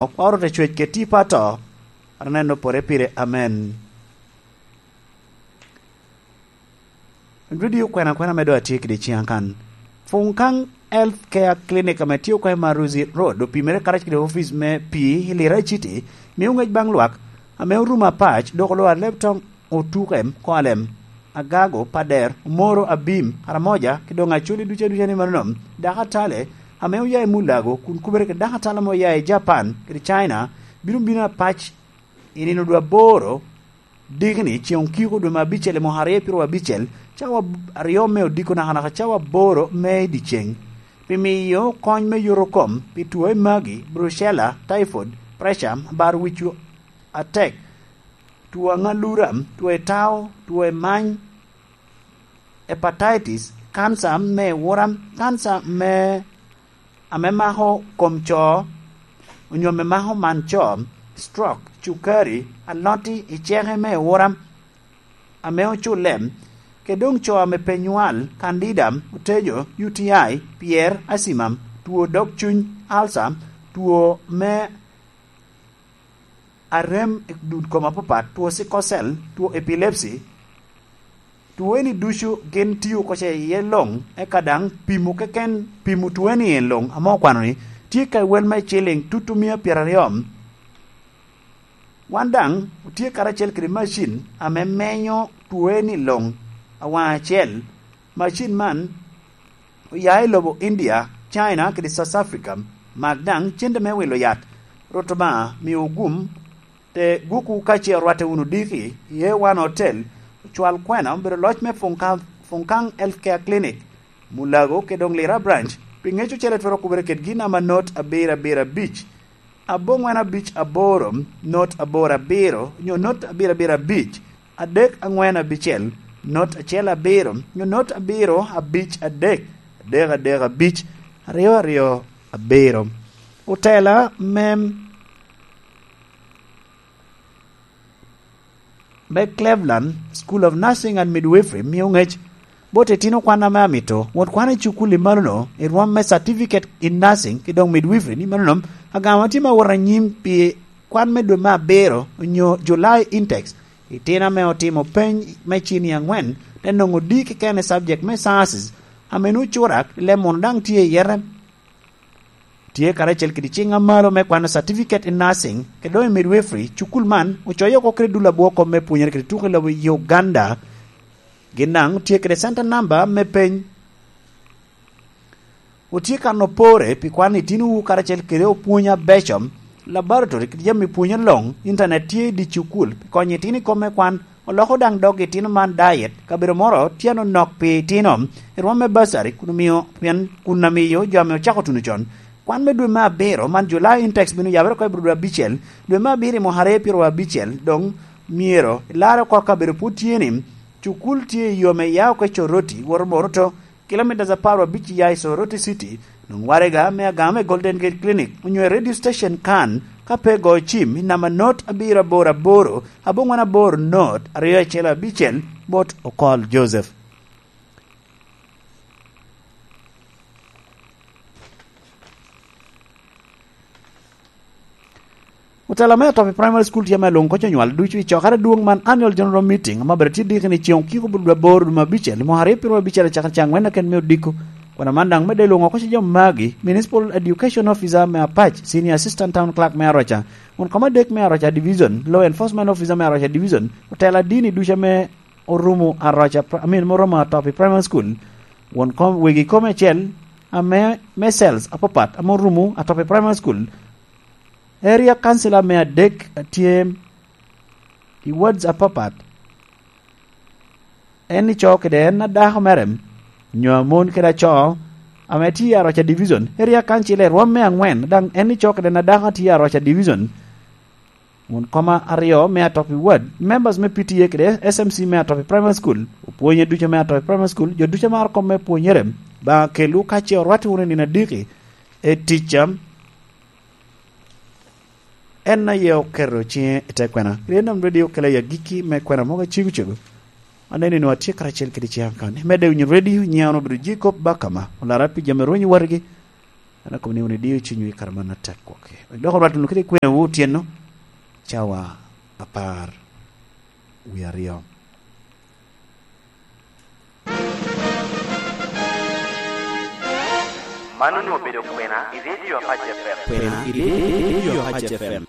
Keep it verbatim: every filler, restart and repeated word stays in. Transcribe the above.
Kwaro te cwec kede tipo ato, aneno pore pire. Amen. Redio kwena kwena me doŋ atye kede ciŋ akan. Funkaŋ Health Care Clinic ame tye oko i Maruzi Road opimere karacel kede opic me pii i Lira City, mio ŋec baŋ lwak ame orumo apac, dok olwar Leptong, Otuke, Kolem, Agago, Pader, Omoro, Abim, Aramoja, ki doŋ Acholi ducu aduca ni manono. Dakatale ame oya i Mulago kun kubere kede dakatale ame oya i Japan kede China bino bino apac i nino dwe aboro dikni, ceŋ okiko dwe me abicel i mwaka aryo piro abicel, cawa aryo me odiko nakanaka cawa aboro me i dyeceŋ, pi miyo kony me yoto kom pi two i magi, brucella, typhoid, pressure, bar wic atek, two aŋalura, two i tao, two i many, hepatitis, kanca me ewura, kanca me, ame mako kom co, onyo ame mako man co, stroke, cukari, aloti i ceke me ewura, ame oculle, kede doŋ co ame pe nywal, candida, otejo, U T I, pyer, asima, two dog cuny, ulcer, two me arem i dul kom apapat, two sickle cell, two epilepsy, two eni ducu gin tio oko ce iye luŋ, eka daŋ pimo keken, pimo two eni en luŋ, ame okwano ni tye ka i wel me ciliŋ tutu mia pyeraryo. Wan daŋ otye karacel kede macin ame menyo two eni luŋ awaŋ acel. Macin man oya i lobo India, China, kede South Africa. Mak daŋ cente me wilo yat. Rwot Obaŋa miwu gum, te gwokwu ka ce orwatte wunu diki i A one Hotel, ocwal kwena obedo loc me Funkaŋ, Funkaŋ Healthcare Clinic, Mulago, kede doŋ Lira Branch, pi ŋec ocele twero kubere kede gin ama not abiro abiro abic. Aboŋwen abic aboro, not aboro abiro, nyo not abiro abiro abic, adek aŋwen abicel, not acel abiro, nyo not abiro abic adek, adek adek abic, aryo aryo abiro. Otela me, me Cleveland School of Nursing and Midwifery mio ŋec bot itino kwan ame amito wot kwan i cukul i malono i rwom me Certificate in Nursing ki doŋ Midwifery ni malono agama tye ma wot anyim pi kwan me dwe me abiro onyo July intakes. Itino ame otimo peny me cini aŋwen te noŋo D keken i subject me sciences ame nwoŋo curak i leb munu daŋ tye i yete. Tye karacel kede ciŋ amalo me kwano Certificate in Nursing kede doŋ i Midwifery. Cukul man ocoyo oko kede dul abwoko me pwonyere kede tuko i lobo Uganda. Gin daŋ tye kede center number me peny. Otye kan opore pi kwano itinowu karacel kede opwony abeco, laboratory kede jami pwonyo luŋ. Internet tye i dye cukul pi konyo itino i kome kwan. Oloko daŋ dog itino man diet, kabedo moro tye anonok pi itino, i rwom me bursary, kun omio, pien kun amiyo jo ame ocako tuno con. Kwan me dwe me abiro man, July intakes, bino yabere oko i bro dwe abicel, dwe me abiro i mwaka aryo piro abicel, doŋ myero ilar oko kabedo pwod tye ni, cukul tye i yo me ya oko i Coroti, woto Moroto, kilomitas apar abic iya i Soroti City, nwoŋo waraga me agama me Golden Gate Clinic, onyo i radio station kan, ka pe go cim i namba not abiro aboro aboro, abongwen aboro not aryo acel abicel, bot Okol Joseph. Otela me Atopi Primary School tye ame lwoŋo koc onywal ducu i cokere adwoŋ man, Annual General Meeting, ame bene tye diki ni ceŋ okiko bot dwe aboro dwe me abicel i mwaka aryo piro abicel acakere caŋ ŋwen aken me odiko. Kwena man daŋ medde lwoŋo koc jo magi, Municipal Education Officer me Apac, Senior Assistant Town Clerk me Aroca, won kom adek me Aroca Division, Law Enforcement Officer me Aroca Division, otela dini ducu ame orumo Aroca Pri-, I mean, me oromo Atopi Primary School, won kom, wegi kom acel ame me cells apapat ame orumo Atopi Primary School, Area Councilor me adek atye i wards apapat. En ico kede en adako mere, nyo amon kede aco, ame tye i Aroca Division. Area Councilor i rwom me aŋwen, daŋ en ico kede en adako atye i Aroca Division. Won koma aryo me Atopi Ward, members me P T A kede S M C me Atopi Primary School, opwonye ducu me Atopi Primary School, jo ducu amaro kom me pwonyere, Obaŋa kelwu ka ce orwatti wunu i nino adiki, e ticca. En aye oketo ciŋe i te kwena. Rienom Radio okelo i agikki me kwena mogo acego cego. Aneno ni nwa tye karacel kede ciŋ akan. Imedde winyo radio, nyiŋa wun obedo Jacob Bakama, olara pi jami rwenyo watigi. An akobo ni wun idio cunywu i kare man atek kwoki. Dok orwat wunu kede kwenewu otyeno, cawa apar wie aryo. Man onwoŋo obedo kwena i Radio Apac F M. Kwena i Radio Apac F M.